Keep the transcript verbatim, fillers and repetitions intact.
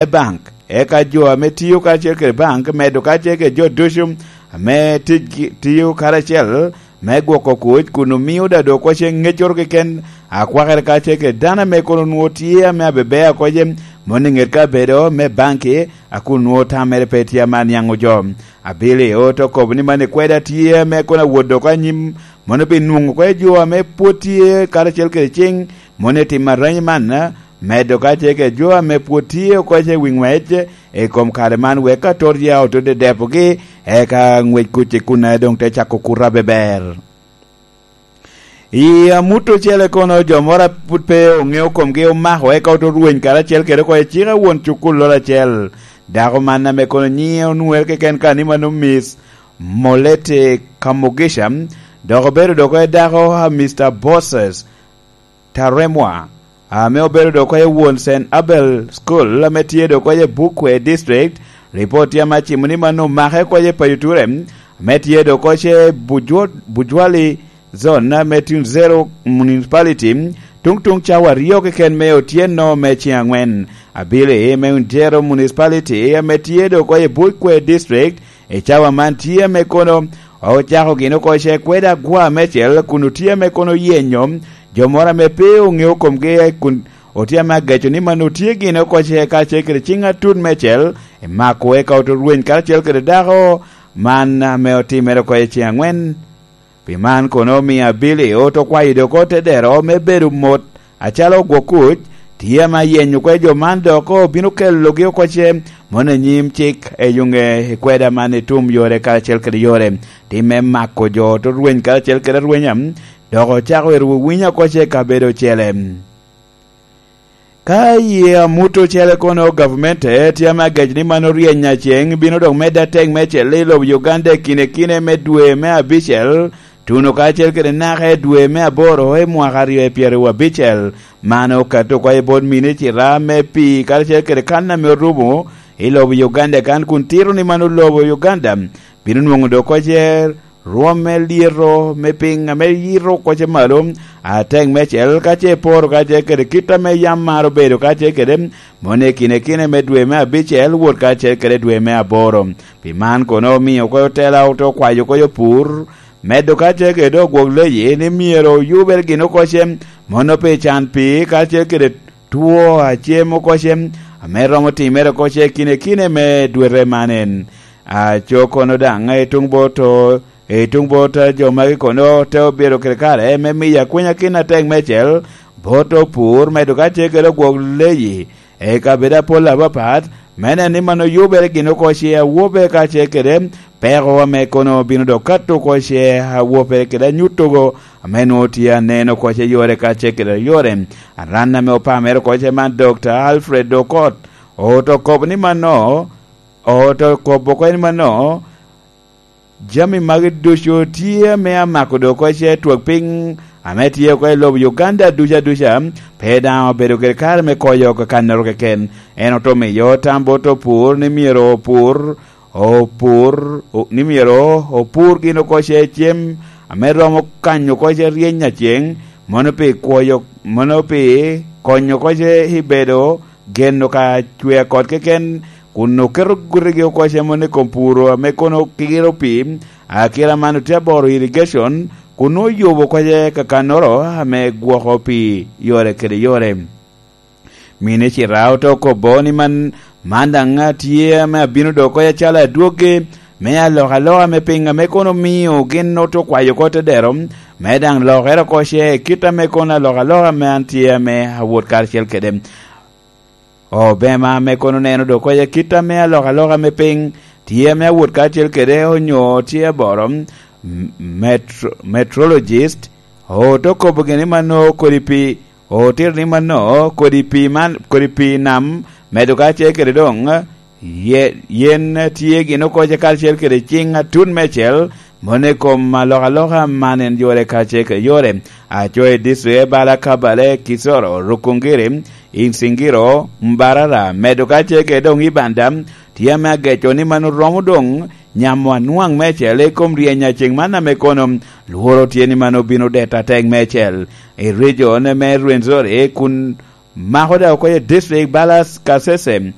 me bank, eka jo ame tio karacel kede bank medo karacel kede jo ducu ame tic-, tio karacel me gwoko kuc kun omio da dok kocce ŋeccoro keken akwakere karacel kede dano ame kono nwoŋo tye ame abeber a kocce mono i ŋet kabedo me banki, a kun nwoŋo tammere pe tye ame aniaŋo jo. Abili oto kobo ni man ikweda tye ame kono awot dok anyim, mono pi nwoŋo kwe jo ame pwod tye karacel kede ciŋ mono i timo aranyi man, medo ka tye kede jo ame pwod tye oko i wi ŋwec i kom kare man, wek ka tot ya oto dedepogi, eka ŋwec kuc i kun doŋ te cako kuto abeber. I amut ocele kono, jo moro a pud pe oŋeo komgi omako, eka oto rweny karacel kede oko i cika won cukulloro acel. Dako man ame kono nyiŋe onwoŋere keken ka ni mano Miss Molete Kamugisha, dok obedo dok i dako a Mister Bosses Taremwa, ame obedo dok i won Saint Abel School, ame tye dok i Bukwe District. Ripot tye ame acimo ni mano omake oko i Payoture, ame tye dok i Bujwa-, Bujwali Zone, ame tye Zero Municipality, tuŋ tuŋ cawa aryo keken me otyeno me ciŋ aŋwen. Abili me Zero Municipality, ame tye dok i Bukwe District, i cawa man tye ame kono ocako gin oko ce kweda agwa mecel, kun otye ame kono oyenyo jo moro ame pe oŋeo komgi, kun otye ame ageco ni man otye gin oko ce karacel kede ciŋ atut mecel, i mako eka oto rweny karacel kede dako man ame otimere oko i ciŋ aŋwen. Pi man kono omio Abili oto kwayo dok ote dero me bedo mot acalo ogwok kuc, tye ame ayenyo kwe jo man dok obino kelogi oko ce mono i nyim cik i yuŋe i kweda man i tum yore karacel kede yore. Tim me mako jo oto rweny karacel kede arwenya, dok ocako ero winyo oko ce kabedo ocele. Ka i amut ocele kono, gavumenti tye ame agec ni man oryeny aceŋ bino dok medde atek me celle i lobo Uganda i kine kine me dwe me abicel, tuno kacel kede naka i dwe me aboro i mwaka aryo i pyeraryo abicel. Man okato oko i bot minicita me pii karacel kede kan ame orumo i lobo Uganda kan, kun tito ni man lobo Uganda bino nwoŋo dok kocce rwom me lyeto me piny ame yito kocce malo atek mecel, ka ce iporo kacel kede kit ame yam maro bedo kacel kede, mono i kine kine me dwe me abicel wot kacel kede dwe me aboro. Pi man kono omio oko otela ote okwayo oko opur, medo kacel kede dok gwok leyi ni myero oyubere gin oko ce, mono pi can pii kacel kede two acem oko ce, ame romo timere oko ce kine kine me dwete man en. Aco kono daŋ i tuŋ bot o, i tuŋ bot jo magi kono te obedo kede kare me miyo akwiny akin atek mecel bot opur, medo ka tye kede ogwok leyi i kabedo apol apapat, me neno ni man oyubere gin oko ce awobe ka tye kede peko ame kono bino dok kato oko ce awobe kede anyutogo ame nwoŋo tye aneno oko ce yore ka tye kede yore. Aran ame opamere oko ce man, Dokta Alfred Okot, oto kobo ni mano, oto kobo oko ni mano, jami magi ducu tye ame amako dok oko ce twak piny ame tye oko i lobo Uganda duca duca, pe daŋ obedo kede kare me koyo oko kannoro keken. En oto miyo tam bot opur ni myero opur, opur, o-, ni myero opur gin oko ce cem ame romo kanyo oko ce ryeny aceŋ, mono pi kwoyo, mono pi konyo oko ce i bedo geno ka cwer kot keken, kun oketo gutigi oko cemo ni i kom puro ame kono kiro pii, akira man otye aboro irrigation, kun oyubo oko ce kakannoro ame gwoko pii yore kede yore. Minicita ote okobo ni man, man daŋ tye ame abino dok oko acalo adwoggi me alokaloka me piny ame kono omio gin ote okwayo oko te dero, me daŋ lokere oko ce i kit ame kono alokaloka ame an tye ame awot karacel kede. Obema ame kono neno dok oko ce kit ame alokaloka me piny tye ame awot karacel kede onyo tye aboro, m-, metro-, meteorologist, ote okobo gini mano kodi pi, otito ni mano kodi pi man, kodi pi nam medo karacel kede doŋ ye-, yen tye gin oko ce karacel kede ciŋ atut mecel, mono i kom alokaloka man en yore karacel kede yore. Aco i district me Bala, Kabale, Kisoro, Rukungiri, Insingiro, Mbarara, medo karacel kede doŋ Ibanda, tye ame ageco ni man oromo doŋ nyamo anwaŋ mecel i kom ryeny aceŋ man ame kono lworo tye ni man obino deto atek mecel. I region me Rwenzori kun mako da oko i district Balas Kasese,